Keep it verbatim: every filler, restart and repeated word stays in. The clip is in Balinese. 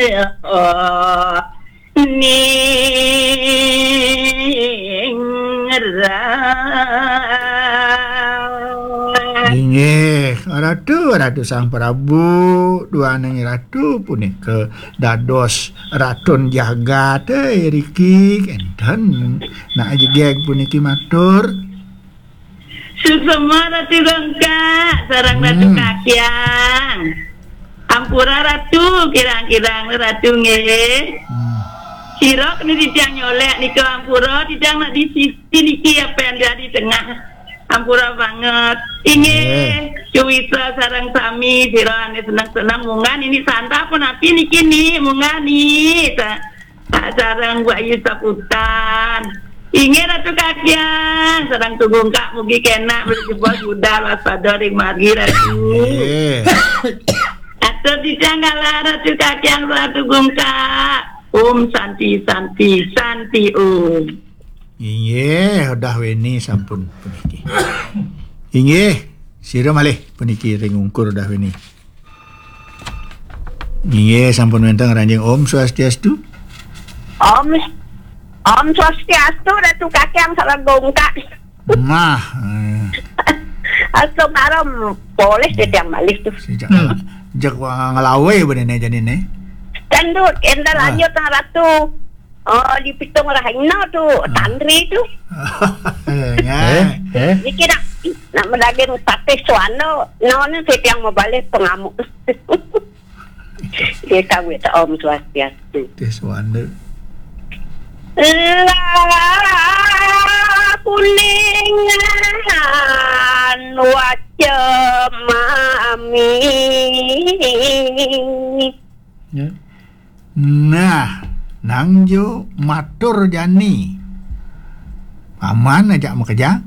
Ningrat. Inggih, Ratu, Ratu Sang Prabu, duaning Ratu punika dados Ratun Jagat, eh, riki, kenten. Nak jegeg puniki matur. Suksma Ratu Gungkak, sareng Ratu Hmm. Kakyang. Ampura Ratu, kirang-kirang Ratu nggih. Hmm. Sira kena titiang nyolek nika ampura, titiang nak di sisi niki apa yang ada di tengah. Ampura banget. Inggih, Nggih. Cuwisa sareng sami sira ane seneng-seneng munggah niki santa punapi niki ni, munggah ni. Sa-, sareng Mbok Ayu Saputan. Inggih Ratu Kakyang, sareng Ratu Gungkak mugi kenak beli jebos budal waspada ring margi Ratu. Nggih. Atur titiang galah Ratu Kakyang, Ratu Gungkak. Om Santi, Santi, Santi Om. Inggih, Udah Weni sampun puniki. Inggih, sira malih puniki ring ungkur Udah Weni. Inggih, sampun wenten ngranjing. Om Swastiastu. Om, Om Swastiastu, Ratu Kakyang sareng Gungkak. Mah, eh. Astu malam, boleh titiang malih tuh. Sejak Hmm. ngala-, sejak wa-, ngelawe benene jani ne. Tandut, enten Ah. lanjut nang Ratu. Oh, di Pitung Rahina tuh, Ah. Tandri tuh. Eh, ya. Eh, eh. Niki nak, nak madaging sate suana, naon titiang mabalih pangamuk. Nggih, sami ta, Om Swastiastu. Teh Suwanda. Lah kuningan wacemami. Ya. Nah, nangjo matur jani. Paman ajak makejang.